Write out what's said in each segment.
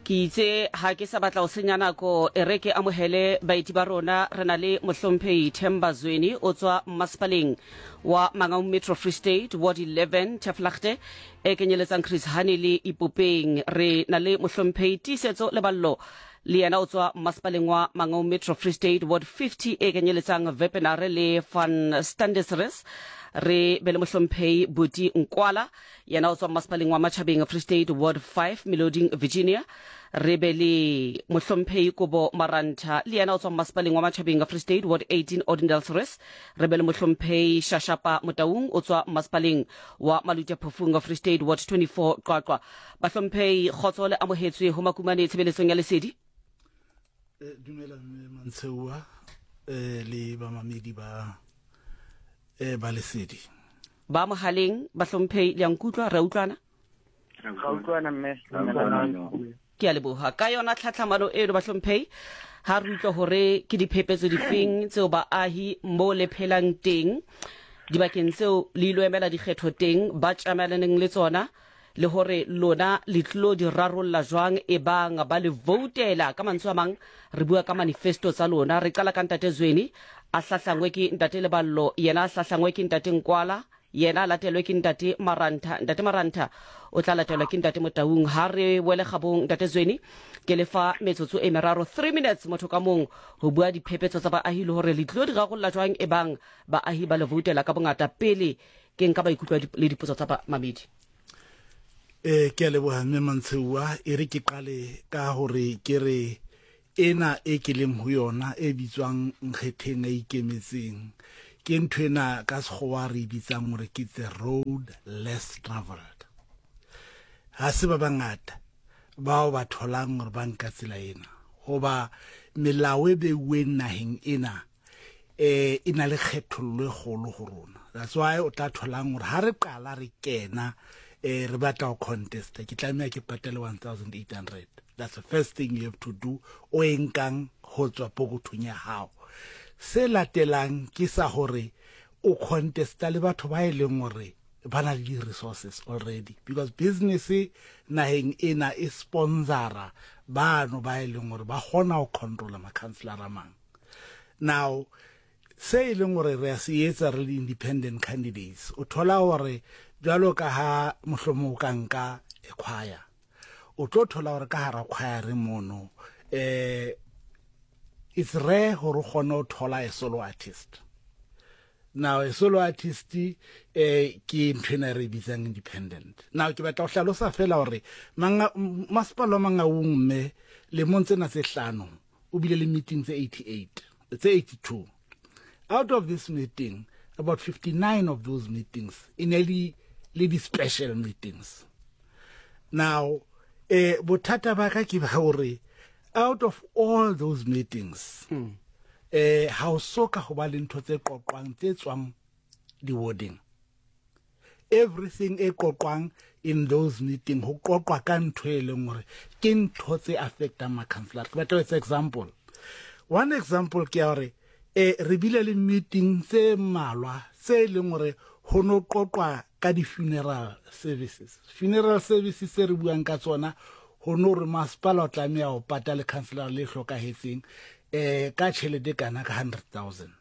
Ke itse ha ke sa batla ho senya nako, e re ke amohele baeti ba rona. Re na le Mohlomphehi Themba Zweni, o tswa Masepaleng wa Mangaung Metro Free State, Ward 11, Taflagte, e kenyeletsang Chris Hani le Ipopeng. Re na le Mohlomphehi Tiisetso Leballo, le yena o tswa Masepaleng wa Mangaung Metro Free State, Ward 50, e kenyeletsang Wepener le Van Standesres. Re be le Mohlomphehi Buti Nkwala, Yena o tswa Mmasepaleng wa Matjhabeng, Free State, Ward 5, Meloding, Virginia. Re be le Mohlomphehi Kobo Marantha, le yena o tswa Mmasepaleng wa Matjhabeng, Free State, Ward 18, Odendaalsrus. Re be le Mohlomphehi Shashapa Motaung, o tswa Mmasepaleng wa Maluti Phofung, Free State, Ward 24, Qwaqwa. Bahlomphehi, kgotso le amohetswe ho Makumane tshebeletsong ya Lesedi. Eh, dumela mme Mantsheua eh, le bamamedi ba eh, ba Lesedi. Ba mohaleng, bahlomphehi, le a nkutlwa? Re a utlwana? Ra utlwana mme. Ke a leboha. Ka yona tlhatlhamano eno, bahlomphehi, ha re utlwa hore ke diphephetso difeng tseo baahi mo le phelang teng, dibakeng tseo le ilo emela dikgetho teng, ba tjamelaneng le tsona, le hore lona le tlilo di rarolla jwang ebang ba le voutela. Ka mantswe a mang, re bua ka manifesto tsa lona. Re qala ka Ntate Zweni, a hlahlangwe ke Ntate Leballo, yena a hlahlangwe ke Ntate Nkwala, yena a latelwe ke Ntate Marantha. Ntate Marantha o tla latelwa ke Ntate Motaung. Ha re wele kgabong, Ntate Zweni, ke le fa metsotso e meraro, 3 minutes motho ka mong, ho bua diphephetso tsa baahi le hore le tlilo di rarolla jwang ebang baahi ba le voutela ka bongata. Pele ke nka maikutlo le dipotso tsa bamamedi. Eh ke a leboha mme Mantsheuwa, e re ke qale ka hore ke re ena e ke leng ho yona e bitswang Nkgetheng a ikemetseng ke ntho ena ka sekgowa re e bitsang hore ke the road less traveled. Ha se ba bangata bao ba tholang hore ba nka tsela ena, hoba melao e beuweng naheng ena eh e na le kgethollo e kgolo go rona. That's why o tla tholang gore ha re qala re kena eh re batla go contesta, ke tlameha ke patale 1800. That's the first thing you have to do, o e nkang ho tswa pokothong ya hao. Se latelang ke sa hore o contesta le batho ba e leng hore ba na le di-resources already, because business naheng ena e sponsora bano ba e leng hore ba kgona ho controla ma-councillor a mang. Now se e leng gore re a se etsa re le independent candidates, o thola gore jwalo ka ha mohlomong o ka nka choir, o tlo thola gore ka hara choir mono it's rare gore o kgone ho thola a solo artist. Now a solo artist ke ntho ena re bitsang independent. Now ke batla ho hlalosa fela hore masepala wa Mangaung mme lemong tsena tse hlano o bile le meeting tse 88, tse 82. Out of this meeting, about 59 of those meetings e ne le le di special meetings. Now bothata ba ka ke ba hore out of all those meetings, ha o soka ho ba le ntho tse qoqwang tse tswang di-warding. Everything e qoqwang in those meeting ho qoqwa ka ntho e leng hore ke ntho tse affectang ma-councillor. Ke batla ho etsa example. One example ke ya hore re bile le meeting tse mmalwa tse e leng hore ho no qoqwa ka di-funeral services. Funeral services tse re buang ka tsona ho no re masepala o tlameha ho patale councillor le hlokahetseng ka tjhelete kana ka 100,000.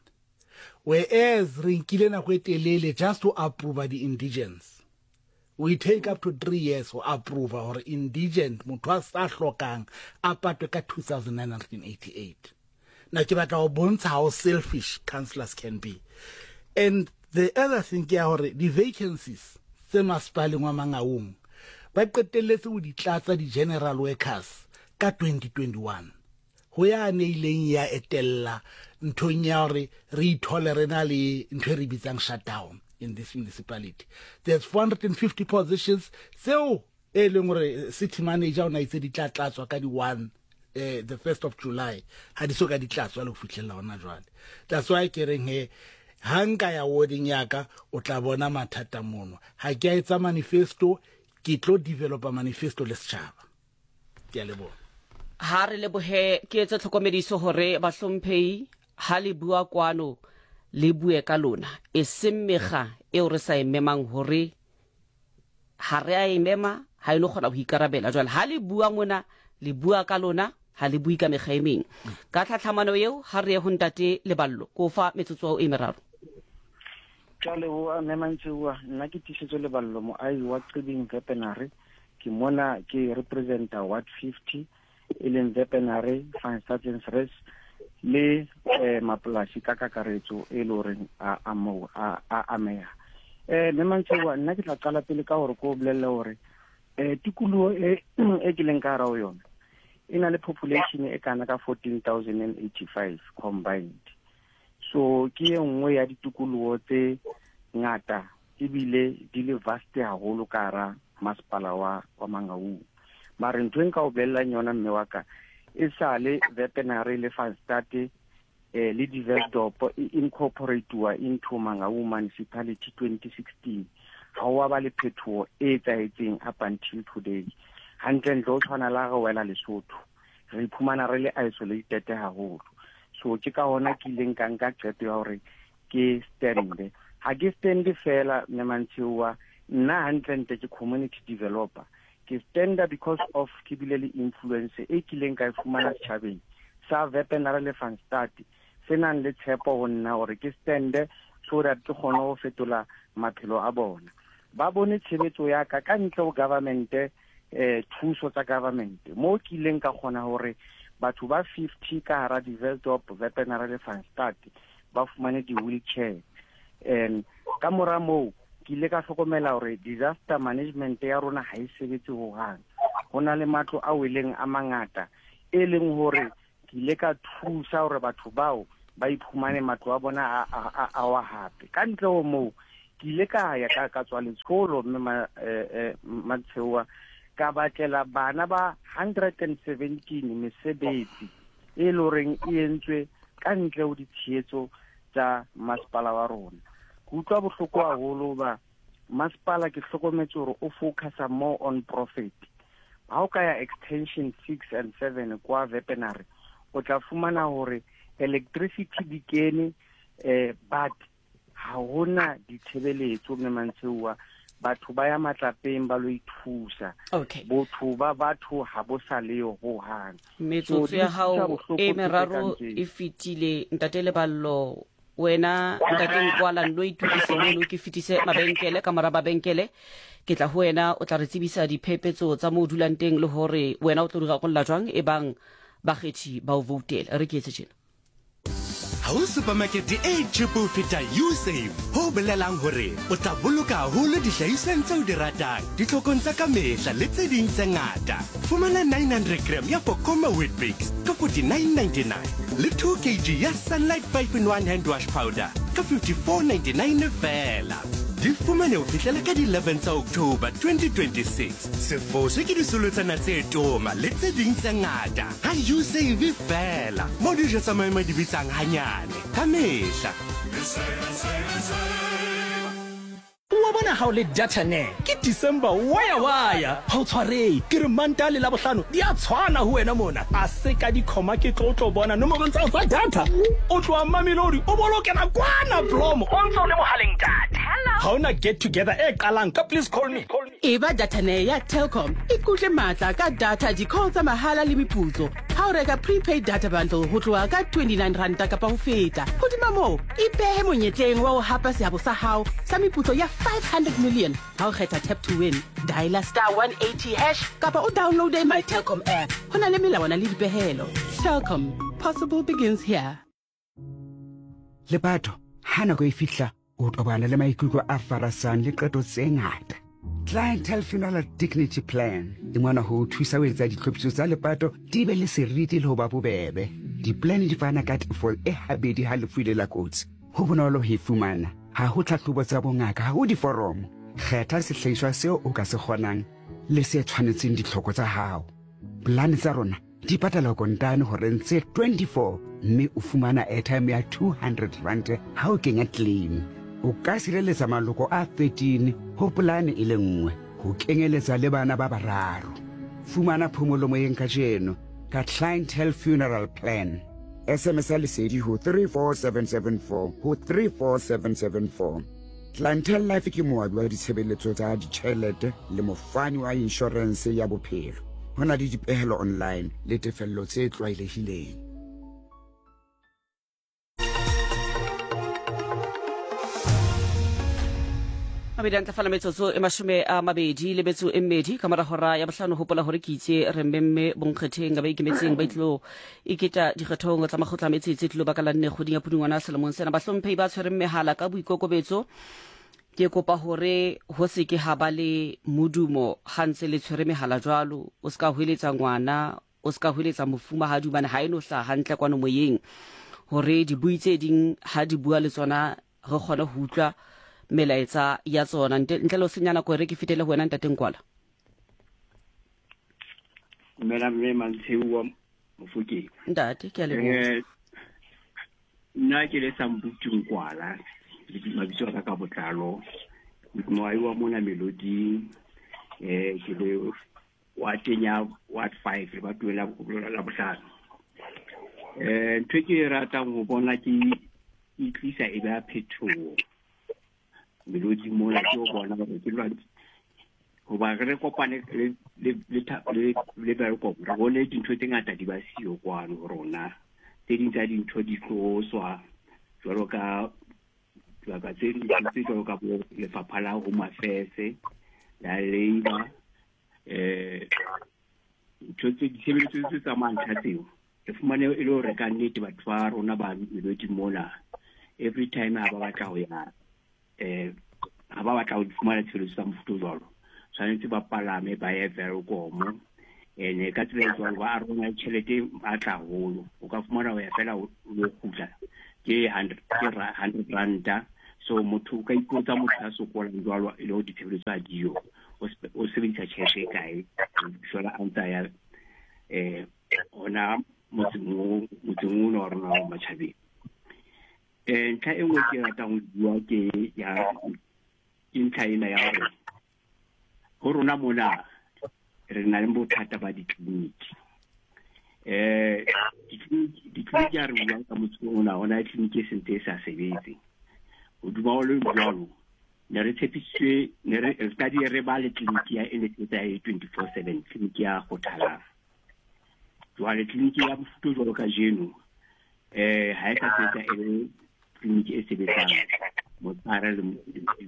Whereas re nkile nako e telele just to approve di-indigents. We take up to 3 years ho approve hore indigent motho a sa hlokang a patwe ka 2988. Na ke batla ho bontsha how selfish councillors can be. And the other thing ke ya hore di-vacancies tse masepaleng wa Mangaung ba qetelletse ho di tlatsa di-general workers ka 2021. Ho ya ne ileng ya etella nthong ya hore re ithole re na le ntho e re bitsang shutdown in this municipality. There's 450 positions tseo e leng hore city manager o na itse di tla tlatswa ka di 1, the 1st of July, ha di so ka di tlatswa le ho fihlella hona jwale. That's why ke reng he ha nka ya warding ya ka o tla bona mathata mono. Ha ke a etsa manifesto, ke tlo developa manifesto le setjhaba. Ke a leboha. Ha re lebohe. Ke etse tlhokomediso hore bahlomphehi ha le bua kwano le bue ka lona, eseng mekga eo re sa e memang hore ha re a e mema ha e no kgona ho ikarabela. Jwale ha le bua mona Le bua ka lona, ha le bue ka mekga e meng. Ka tlhatlhamano eo, ha re ye ho Ntate Leballo. Ke o fa metsotso e meraro. Ke a leboha, Mme Mantseoa. Nna ke Tiisetso Leballo, moahi wa Qibing Vepenare. Ke mona ke representa Ward 50, e leng Vepenare, Van Stadtensres le eh, mapolasi ka kakaretso e le horeng a a moo a a ameha. Eh, Mme Mantseoa, nna ke tla qala pele ka hore ke o bolelle hore eh tikoloho e e ke leng ka hara ho yona e na le population e kana ka 14085 combined. So ke e nngwe ya ditikoloho tse ngata ebile di le vast haholo ka hara masepala wa wa Mangaung. Mare ntho e nka o bolellang yona mme wa ka, e sale Vepenare le Van Stade eh, le Diversdorp e incorporatiwa into Mangaung Municipality 2016, ga wa ba le phetoho e etsahetseng up until today. Hantlentle o tshwana la re wela Lesotho, re iphumana re le isolated haholo. So ke ka hona ke ileng ka nka qeto ya hore ke stande. Ha ke stande fela, mme Mantshioa, nna hantlentle ke community developer. Ke standa because of ke bile le influence e kileng ka e fumana setjhabeng sa Vepenare le Van Stad, se nang le tshepo ho nna hore ke stande so that ke kgone ho fetola maphelo a bona. Ba bone tshebetso ya ka ka ntle ho government, eh, thuso tsa government, mo ke ileng ka kgona hore batho ba 50 ka hara Diversdorp, Vepenare le Van Stad ba fumane di-wheelchair. And ka mora moo ke ile ka hlokomela hore disaster management ya rona ha e sebetse hohang. Ho na le matlo a weleng a mangata, e leng hore ke ile ka thusa hore batho bao ba iphumane matlo a bona a, a, a, a wa hape. Ka ntle ho moo, ke ile ka ya ka, ka tswa letsholo mme ma, eh, eh, Matsheoa, ka batlela bana ba 117 mesebetsi e le horeng e entswe ka ntle ho ditshehetso tsa masepala wa rona. Ke utlwa bohloko haholo ba masepala, ke hlokometse hore o focusa more on profit. Ha o ka ya extension 6 and 7 kwa Vepenare, o tla fumana hore electricity di kene, eh, but ha hona ditshebeletso mme Mantsheuwa, batho ba ya matlapeng ba lo ithusa. Okay. Botho ba batho ha bo sa leyo hohang. Metsotso ya hao e meraro e fetile, Ntate Leballo. Wena Ntate Nkwala, nno itukise mono ke fetise mabenkele. Ka mora mabenkele ke tla ho wena, o tla re tsebisa diphephetso tsa mo o dulang teng le hore wena o tlo di rarolla jwang e bang bakgethi ba o voutela. Re ke etse tjena. Ha ho supermarket e cheap ho feta Usave, ho bolelang hore o tla boloka haholo dihlahisweng tseo di ratang, ditlhokong tsa ka mehla le tse ding tse ngata. Fumana 900 gram ya Pokoma Weet-Bix ka 49.99 le 2 kg ya Sunlight 5 in 1 hand wash powder ka 54.99 feela. Di fumane ho fihlela ka di 11 tsa October 2026. Se foswe ke disolotsana tse toma le tse ding tse ngata. Ha Usave feela, mo dijo tsa maemo di bitsang hanyane ka mehla. Wa bona ha o le data ne ke December waya waya ha o tshwarehe ke re Mantaha le Labohlano di a tshwana ho wena mona a se ka dikhoma ke tlo tlo bona nomorong tsa hao tsa data o tloha Mamelodi o bo lo kena kwana Blom o ntse o le mohaleng data ha ona get together e qalang ka please call me. Eba datanee ya Telkom, ikutlwe matla ka data, di-call tsa mahala le meputso ha o reka prepaid data bundle ho tloha ka 29 ranta kapa ho feta. Hodima moo, ipehe monyetleng wa ho hapa seabo sa hao sa meputso ya 500 million ha o kgetha Tap to Win. Dialer star 180 hash kapa o downloade My Telkom app. Ho na le melawana le dipehelo. Telkom, possible begins here. Lepato, ha nako e fihla, o tobana le maikutlo a farasang le qeto tse ngata. Clientele Funeral Dignity Plan e mona ho o thusa ho etsa ditlhophiso tsa lepato di be le seriti le ho ba bobebe. Di-plan di fana ka tefo e habedi ha lefu le la kotsi. Ho bonolo ho e fumana. Ha ho tlhahlobo tsa bongaka, ha ho diforomo. Kgetha sehlahiswa seo o ka se kgonang le se tshwanetseng ditlhoko tsa hao. Polane tsa rona di patala kontane horeng tse 24 mme o fumana airtime ya 200 rand ha o kenya claim. O ka sireletsa maloko a 13 ho polane e le nngwe, ho kenyeletsa le bana ba bararo. Fumana phomolo moyeng kajeno ka Clientele Funeral Plan. SMS ya lesedi ho 34774 ho 34774. Clientele Life ke moabi wa ditshebeletso tsa ditjhelete le mofani wa inshorense ya bophelo. Ho na le dipehelo online le tefello tse tlwaelehileng. Mabedi a ntlafala metsotso e mashome a mabedi le metso e mmedi ka mora hora ya bohlano. Hopola gore ke itse re mmemme bonkgetheng ba ikemetseng ba itlilo iketa dikgethong tsa makgotla a metse tse tlilo baka la nne kgweding ya Pudungwana selemong sena. Bahlomphehi ba tshwereng mehala ka boikokobetso, ke kopa gore ho se ke ha ba le modumo ha ntse le tshwere mehala jwalo. O se ka hweletsa ngwana, o se ka hweletsa mofumahadi, hobane ha e no hlaha hantle kwano moyeng gore dibui tse ding ha di bua le tsona re kgone ho utlwa melaetsa ya tsona. Ntle le ho senya nako, e re ke fetele ho wena Ntate Nkwala. Dumela mme Mantsheu Mofokeng. Ntate, ke a leboha. Nna ke le Sambutu Nkwala, mabitso a ka ka botlalo, moahi wa mona Meloding, ke le wa teng ya ward 5 lebatoweng la bohlano. Ntho e ke e ratang ho bona ke e tlisa e ba phetoho Melodi mona, ke o bona hore ke lwantse hoba re kopane le Welkom, re bone dintho tse ngata di ba siyo kwano ho rona. Tse ding tsa dintho di tloswa jwalo ka dibaka tse tse jwalo ka bo lefapha la Home Affairs, la Labour, ntho tse ditshebeletso tse tsamayang ntlha tseo re fumane e le hore ka nnete batho ba rona ba Melodi mona every time ha ba batla ho ya ha ba batla ho fumana tshebeletso tsa mofuta o jwalo, tshwanetse ba palame ba ye Welkom. Ene ka tsela e jwalo ba arolana tjhelete e matla haholo. O ka fumana ho ya fela o lo kgutla ke 100 ranta. So motho o ka ipotsa, motho a sokolang jwalo e le hore ditshebeletso ha diyo, o sebedisa tjhelete e kae jwale a ntse a ya hona motseng ono wa rona wa matjhabeng. Ntlha e nngwe ke ratang ho bua ke ya ke ntlha ena ya hore ho rona mona re na le bothata ba ditleliniki. Ditleliniki ha re buang ka motse ona, hona le tleliniki e sentse e sa sebetse. Hodima ho le jwalo, ne re tshepisitswe, ne re re re ba le tleliniki ya e ne sebetsa e 24/7, tleliniki ya Kgothalang. Jwale tleliniki ya mofuta o jwalo kajeno ha e sa sebetsa e le tleliniki e sebetsang motshehare le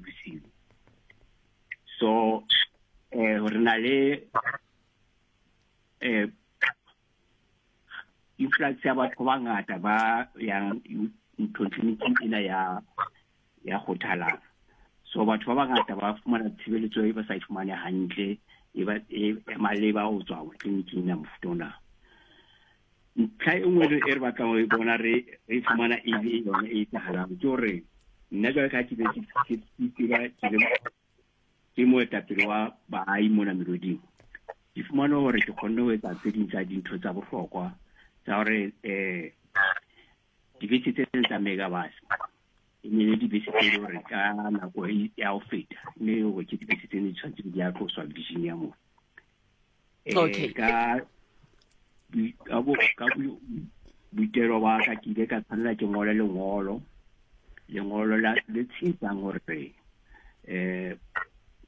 bosiu. So re na le influx ya batho ba bangata ba yang nthong tleliniking ena ya Kgothalang. So batho ba bangata ba fumana tshebeletso e ba sa e fumane hantle e ba e maleba ho tswa tleliniking ya mofuta ona. Ntlha e nngwe e re batlang ho e bona re e fumana e le yona e etsahalang ke hore nna jwale ka ke be ke tseba ke moetapele wa baahi mona Meloding, ke fumane hore ke kgonne ho etsa tse ding tsa dintho tsa bohlokwa tsa hore dibese tse tsa Megabus e ne le dibese tse le hore ka nako ya ho feta e ne hore ke dibese tse ne di tshwanetse di a tloswa Virginia moo. Okay. Ka boitelo ba ka ke ile ka tshwanela ke ngole lengolo la le tshehetsang hore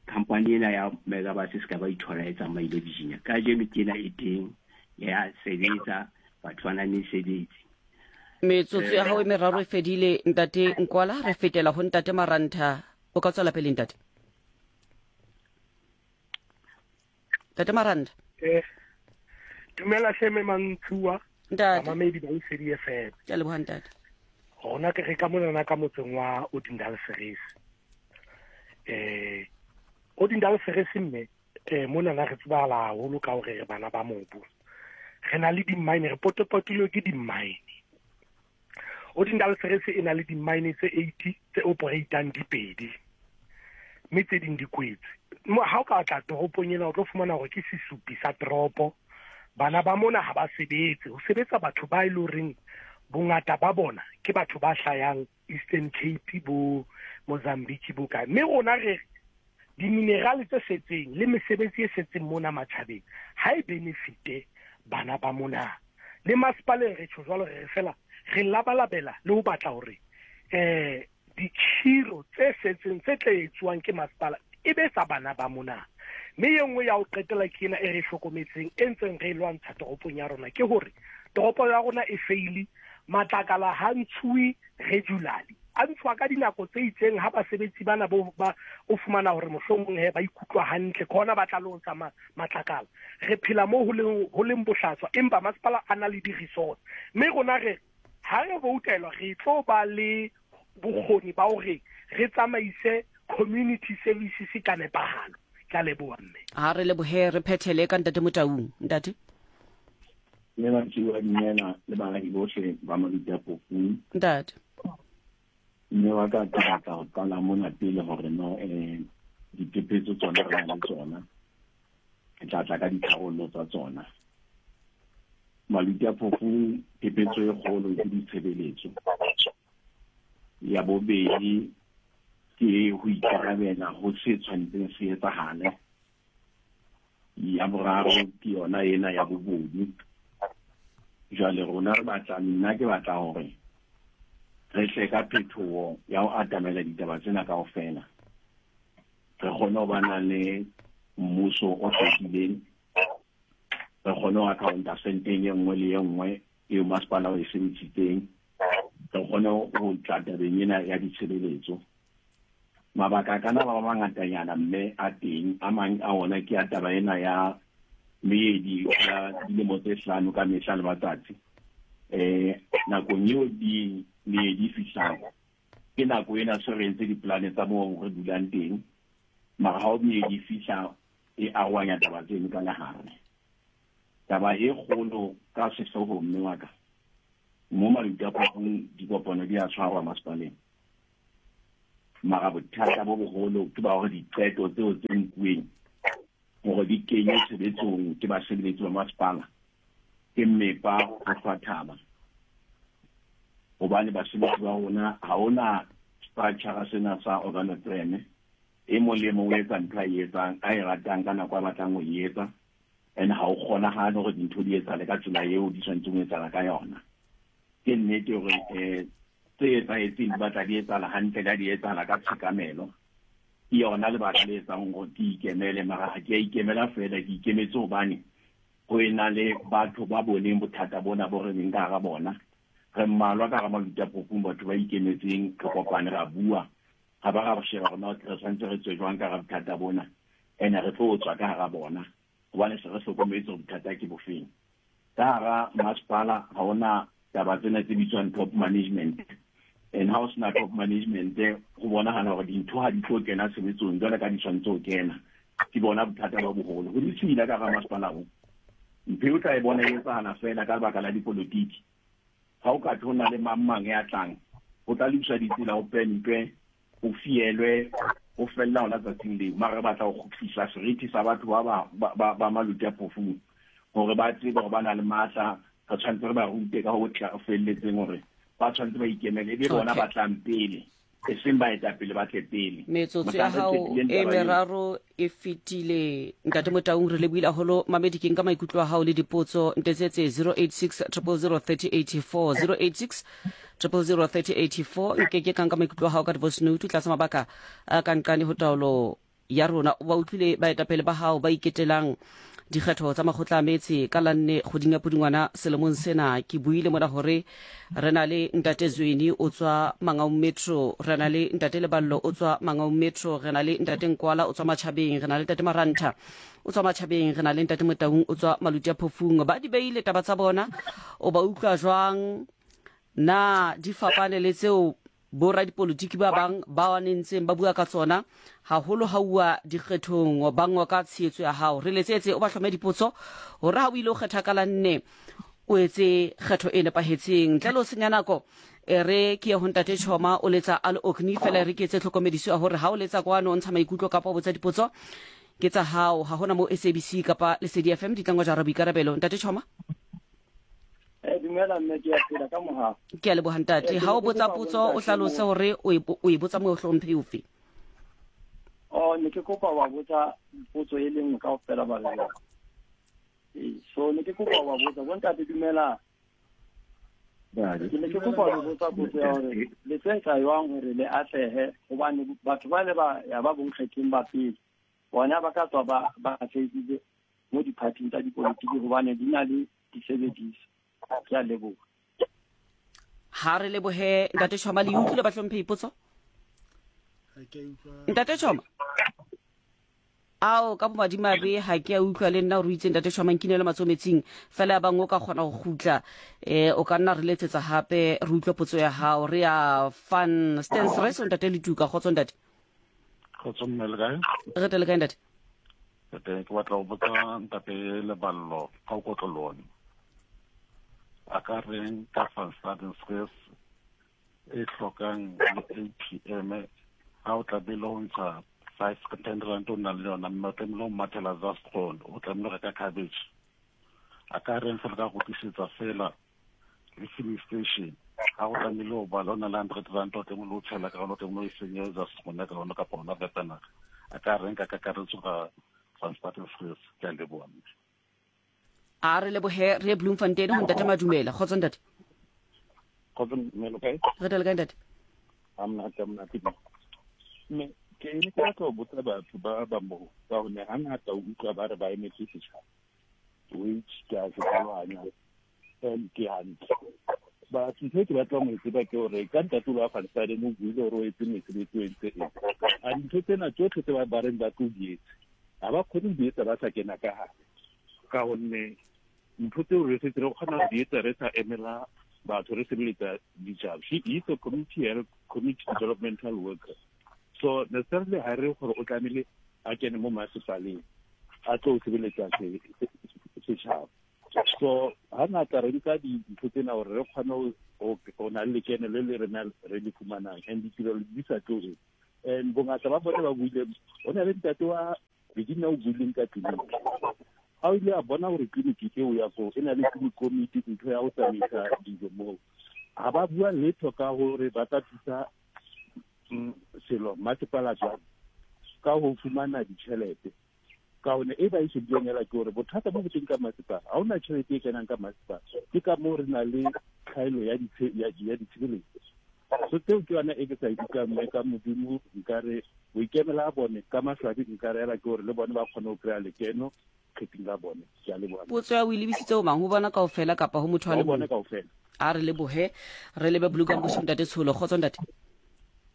company ena ya Megabus e se ka ba ithola e tsamaile Virginia. Kajeno ke ena e teng ya sebetsa, batho ba na mesebetsi. Metsotso ya gago e meraro e fedile Ntate Nkwala, re fetela ho Ntate Marantha. O ka tswela pele Ntate. Ntate Marantha. Dumela hle mme Mantshiwa. Ntate. Bamamedi ba Lesedi FM. Ke a leboha Ntate. Rona ke re ka monana ka motseng wa Odindal Series. Odindal Series mme monana re tsebahala haholo ka hore re bana ba mobu. Re na le di-mine, re potopotilwe ke di-mine. Odindal Series e na le di-mine tse 80 tse operatang di pedi, mme tse ding di kwetse. Mo ha o ka tla toropong ena o tlo fumana hore ke sesupi sa toropo. Bana ba mona ha ba sebetse, ho sebetsa batho ba e leng horeng bongata ba bona ke batho ba hlayang Eastern Cape, bo Mozambique, bo kae. Mme rona re di-mineral tse setseng le mesebetsi e setseng mona matjhabeng ha e benefite bana ba mona. Le masepaleng re tjho jwalo, re re fela re labalabela le ho batla hore dikhiro tse setseng tse tla etsuwang ke masepala e be tsa bana ba mona. Mme e nngwe ya ho qetela ke ena e re e hlokometseng e ntseng re e lwantsha toropong ya rona ke hore toropo ya rona e feile, matlakala ha ntshuwe regularly. A ntshuwa ka dinako tse itseng ha basebetsi bana bo ba o fumana hore mohlomong he ba ikutlwa hantle ke hona ba tla lo ntsha matlakala. Re phela mo ho leng ho leng bohlaswa empa masepala a na le di-resource. Mme rona re ha re voutelwa re tlo ba le bokgoni ba hore re tsamaise community services ka nepahalo. Ke a leboha mme. Ha re lebohe re phethele ka Ntate Motaung. Ntate. Mme Matsiwa dumela le baahi bohle ba Maluti Phofung. Ntate. Mme wa ka ke batla ho qala mona pele hore no eh diphephetso tsona re na le tsona. Ke tla tla ka ditharollo tsa tsona. Maluti a Phofung phephetso e kgolo ke ditshebeletso. Ya bobedi ke ho ikarabela ho se tshwanetseng se etsahale. Ya boraro ke yona ena ya bobodu. Jwale rona re batla, nna ke batla hore re tle ka phetoho ya ho atamela ditaba tsena kaofela. Re kgone ho ba na le mmuso o hlwekileng, re kgone ho accounta senteng e nngwe le e nngwe eo masepala o e sebedisitseng, re kgone ho tla tabeng ena ya ditshebeletso. Mabaka a kana ba mangatanyana mme a teng, a mang a ona ke a taba ena ya meedi ya dilemo tse hlano ka mehla le matsatsi. Eh nakong eo di meedi e fihlang ke nako ena se re entse dipolane tsa moo re dulang teng, mara ha o meedi e fihla e arohanya taba tseno ka lehare. Taba e kgolo ka sehloohong mme wa ka, mo Maluti a Phofung dikopano di a tshwarwa masepaleng. Mara bothata bo boholo ke ba hore diqeto tseo tse nkuweng hore di kenywe tshebetsong ke basebeletsi ba masepala ke mmepa ho hlwa thaba. Hobane basebetsi ba rona ha hona structure sena sa organogram, e mong le e mong o etsa ntho a e etsang, a e ratang ka nako a batlang ho e etsa, and ha o kgonahale hore dintho di etsahale ka tsela eo di tshwanetseng ho etsahala ka yona. Ke nnete hore um tse etsahetseng di batla di etsahala hantle, le ha di etsahala ka tshekamelo. Ke yona lebaka le etsang hore ke ikemele, mara ha ke a ikemela feela, ke ikemetse hobane ho ena le batho ba boneng bothata bona bo re leng ka hara bona. Re mmalwa ka hara Maluti a Phofung, batho ba ikemetseng, re kopane ra bua, ra ba ra sheba hore na re tshwanetse re tswe jwang ka hara bothata bona, ene re tlo tswa ka hara bona hobane se re hlokometse hore bothata ke bofeng. Ka hara masepala ha hona taba tsena tse bitswang top management, and ha o sena top management ho bonahala hore dintho ha di tlo kena tshebetsong jwale ka di tshwanetse ho kena. Ke bona bothata ba boholo ho ditshila ka hara masepala o. Ntho eo tla e bona e etsahala feela ka lebaka la dipolotiki. Ha o ka thwe ho na le mang mang ya tlang, ho tla lokiswa ditsela, ho pentwe, ho fielwe, ho fella hona tsatsing leo. Mara re batla ho kgutlisa seriti sa batho ba ba ba ba Maluti a Phofung hore ba tsebe hore ba na le matla. Re tshwanetse re ba rute ka ho tla felletseng hore ba tshwanetse ba ikemele, e be bona ba tlang pele, eseng baetapele ba tle pele. Metsotso ya Mohlang re hao qetileng e taba eo, meraro e fetile Ntate Motaung, re lebohile haholo. Mamedi ke nka maikutlo a hao le dipotso. Ntetsetse 086 000 3084, 086 000 3084. Nke ke ka nka maikutlo a hao ka di-voice note tlasa mabaka a ka nqane ho taolo ya rona. O ba utlwile baetapele ba hao ba iketelang dikgetho tsa makgotla a metse ka la nne kgweding ya Pudungwana selemong sena. Ke buile mona hore re na le Ntate Zweni o tswa Mangaung Metro, re na le Ntate Leballo o tswa Mangaung Metro, re na le Ntate Nkwala o tswa Matjhabeng, re na le Ntate Marantha o tswa Matjhabeng, re na le Ntate Motaung o tswa Maluti a Phofung. Ba di beile taba tsa bona, o ba utlwa jwang? Na di fapane le tseo Boradipolotiki ba bang ba nentseng ba bua ka tsona, haholo ha uwa dikgethong, ba ngoka tshehetso ya hao. Re letsetse o ba hlome dipotso hore ha o ile o kgetha ka la nne o etse kgetho e nepahetseng. Ntle le ho senya nako, e re ke ye ho Ntate Choma, o letsa a le Orkney. Feela e re ke etse tlhokomediso ya hore ha o letsa kwano o ntsha maikutlo kapa o botsa dipotso, ke tsa hao. Ha hona moo SABC kapa Lesedi FM di tlang ho jara boikarabelo. Ntate Choma. Eh, dumela mme, ke a phela ka mohau. Ke a leboha ntate. Eh, Ha o botsa ke kopa potso o bontate hlalose mo- hore o e o e botsa mohlomphehi ofe. Oh, ne ke kopa wa botsa potso e le nngwe kaofela ba le jwalo. Ee, so ne ke kopa wa botsa bontate dumela. Ke ne ke kopa ho botsa potso ya hore le tlo etsa jwang hore le atlehe, hobane batho ba le ba ya ba bonkgetheng ba pele. Bona ba ka tswa ba ba sebeditse mo diphathing tsa dipolotiki hobane di na le disebediswa. Ke a leboha. Ha re lebohe Ntate Choma le utlwile bahlomphehi potso? Ntate Choma. Ao ka bomadimabe ha ke a utlwa le nna gore o itse Ntate Choma nkinele matsoho metsing fela ya bang o ka kgona go gutla eh o ka nna re letsetsa hape re utlwe potso ya hao re ya fan stance reso Ntate Letuka kgotso Ntate. Kgotso mme le kae? Re tele kae Ntate? Re teng ke batla go botsa Ntate Leballo ka o kotlolone. A ka reng ka Van Staden Stress e hlokang le ATM ha o tlamehile ho ntsha 5 10 rand o nang le yona mme o tlamehile ho mathela Zastron o tlamehile ho reka cabbage a ka reng fela ka go tlisetsa fela le filling station ha o tlamehile o bala o na le 100 rand o tlamehile o tshela ka yona o tlamehile o e senyetsa Zastron ka yona kapa hona Vepenak a ka reng ka kakaretso ka Van Staden Stress ke a leboha mme. A re lebohe re ye Bloemfontein ho Ntate Madumela. Kgotso Ntate. Kgotso mme lo kae? Re tele kae Ntate? A monate a monate. Mme ke ne ke batla ho botsa batho ba ba moo ka gonne hangata o utlwa ba re ba emetse setšhaba which ke a se tlhaloganya and ke hantle but ntho e ke batlang ho e tseba ke gore ka ntate o ba Van o buile gore o etse mesebetsi o entse eng a dintho tsena tsotlhe tse ba reng ba tlo di etse ga ba kgone go di etsa ba sa kena ka gare ka gonne ntho tseo re setse re kgona go di etsa re sa emela batho re sebeletsa ditšhaba. She is a community health community developmental worker, so necessarily ga re gore o tlamehile a kene mo masepaleng a tlo sebeletsa setšhaba. So ga ngata re nka dintho tsena gore re kgone go na le lekeno le le rena re le fumanang and ditirelo di sa tlo. And bongata ba bone ba buile o na le ntate wa Regina o buileng ka tleliniki a o ile a bona gore tleliniki eo ya koo e na le komiti ntho ya go tsamaisa dijo moo ga ba bua letho ka gore ba tla thusa selo masepala jwang ka go fumana ditšhelete ka gonne e ba e shebileng hela ke gore bothata bo bo teng ka masepala ga ona tšhelete e kenang ka masepala ke ka moo re na le tlhaelo ya ditshebeletso. So tseo ke yona e ke sa ikutlwang mme ka modimo nkare boikemela a bone ka maswabi nka reela ke gore le bone ba kgone go kry-a lekeno kgething la bone. Ke a leboha. Potso ya o e lebisitse ho mang? Ho bona kaofela kapa ho motho a le mong? Ho bona kaofela. A re lebohe re lebe Blue Gum Ntate Tsholo. Kgotso ntate.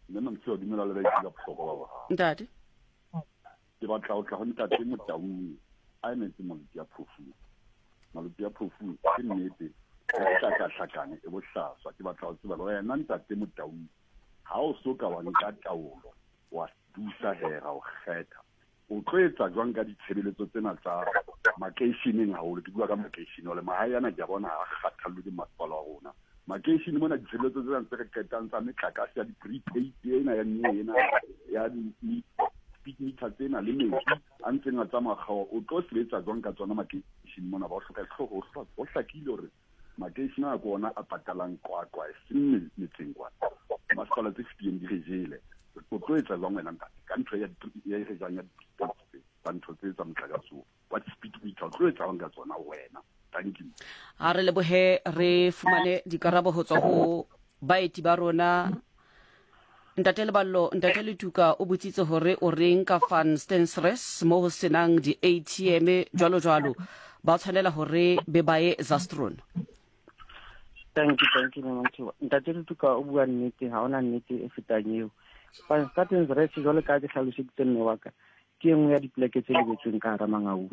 Mme Mamtshio dumela le baitse ka bohlokwa ba bohao. Ntate. Ke batla ho tla ho ntate Motaung a emetse Maluti a Phofung. Maluti a Phofung ke nnete e hlakahlakane e bohlaswa. Ke batla ho tseba le wena ntate Motaung ha o so ka wa nka taolo wa busa hera o kgetha o tlo etsa jwang ka ditshebeletso tsena tsa makeisheneng haholo? Ke bua ka makeishene ole mahae ana ke a bona ha kgathallwe ke masepala wa rona. Makeishene mona ditshebeletso tsena tse re qetang tsa metlakase ya di-prepaid ena ya nne ena ya di-speed meter tsena le metsi a ntseng a tsamaya kgaoha, o tlo sebetsa jwang ka tsona makeishene mona? Ba o hloka ho hlakile hore makeishene a ke ona a patalang qwaqwa e seng metseng kwana. Masepala tse fetileng di re jele. O tlo etsa jwang wena ntate ka ntho ya e re jang ya di-prepaid tsa ntho tse tsa motlakase oo wa di-speed meter, o tlo etsa jwang ka tsona wena? Thank you. A re lebohe re fumane dikarabo ho tswa ho baeti ba rona. Ntate Leballo, Ntate Letuka o botsitse hore o reng ka Van Stensres mo ho senang di-ATM jwalo jwalo ba tshwanela hore be ba ye Zastron. Thank you, thank you, Mama Thiba. Ntate Letuka o bua nnete, ha ona nnete e fetang eo. Van Stensres jwalo ka ke hlaloseditse mme wa ka, ke e nngwe ya dipoleke tse lebetsweng ka hara Mangaung.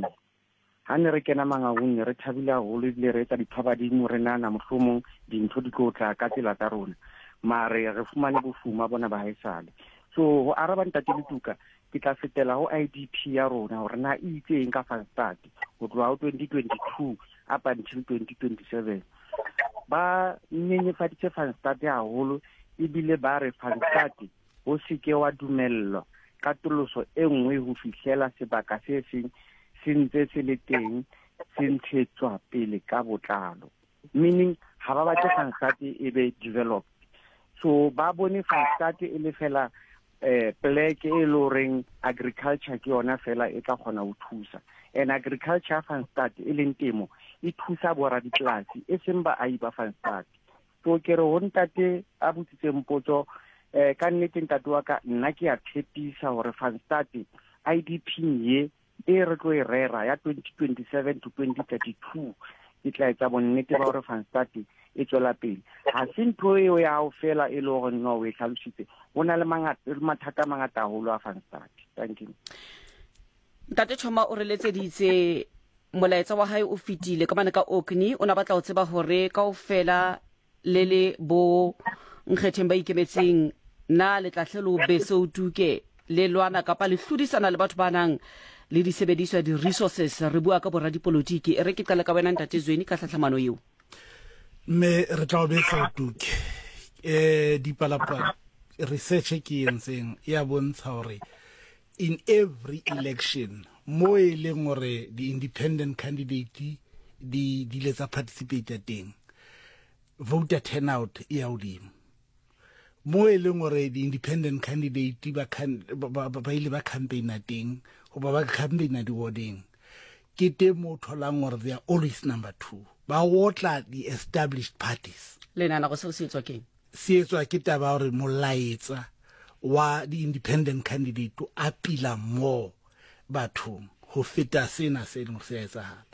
Ha ne re kena Mangaung ne re thabile haholo ebile re etsa diphabadimo re nahana mohlomong dintho di tlo tla ka tsela tsa rona. Mare re fumane bofuma bona ba haesale. So ho araba Ntate Letuka, ke tla fetela ho IDP ya rona hore na e itse eng ka Van Stad ho tloha ho 2022 up until 2027. Ba nyenyefaditse Van Stad haholo ebile ba re Van Stad ho se ke wa dumellwa katoloso e nngwe ho fihlela sebaka se seng se ntse se le teng se ntshetswa pele ka botlalo. Meaning ha ba batle Van Stad e be developed. So ba bone Van Stad e le fela pleke e le horeng agriculture ke yona fela e tla kgona ho thusa. And agriculture Van Stad e leng temo e thusa boradipolasi e seng baahi ba Van Stad. So ke re ho ntate a botsitseng potso ka nnete ntate wa ka nna ke a tshepisa hore Van Stad IDP-ing ye e re tlo e rera ya 2027 to 2032 e tla etsa bonnete ba gore Van Staat e tswela pele. Ga se ntho eo ya gago fela e le gore no o e tlhalositse, go na le mathata a mangata haholo a Van Staat. Thank you. Ntate Choma o re letseditse molaetsa wa hae o fetile ka mane ka Orkney, o na batla ho tseba hore kaofela le le bo nkgetheng ba ikemetseng na le tla hle lo be se o tuke le lwana kapa le hlodisana le batho ba nang le disebediswa di-resources. Re bua ka boradipolotiki. E re ke qale ka wena Ntate Zweni ka tlhatlhamano eo. Mme re tla o betsa o tuke. Um dipalapala research e ke entseng ya bontsha hore in every election mo e leng hore di-independent candidate di di ile tsa participate teng, voter turnout e ya hodimo. Mo e leng hore di-independent candidate ba ba ba ile ba campaigna teng goba ba campaigna di-wardeng, ke teng mo o tholang gore they are always number 2, ba otla di-established parties. Le nahana gore seo se etswa keng? Se etswa ke taba ya gore molaetsa wa di-independent candidate o apila more bathong ho feta sena se leng se a etsahala.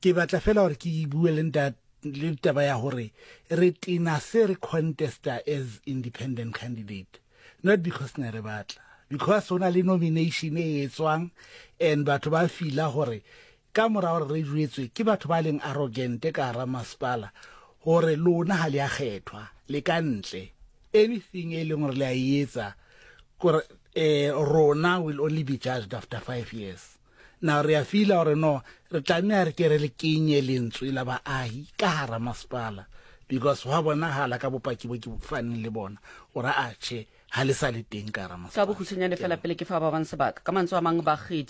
Ke batla fela gore ke bue le ntate le taba ya gore re tena se re contesta as independent candidate, not because ne re batla, because ho na le nomination e etswang and batho ba fila gore ka mora gore re jwetswe ke batho ba leng arrogant ka hara masepala gore lona ha le a kgethwa le ka ntle, anything e leng gore le a e etsa kore rona will only be judged after 5 years. Now re a fila gore no re tlameha re ke re le kenye lentswe la baahi ka hara masepala, because hwa bonahala ka bopaki bo ke faneng le bona gore a tjhe ha le sa le teng ka hara masepala. Ka bokhutshwanyane fela pele ke fa ba bang sebaka, ka mantswe a mang bakgethi.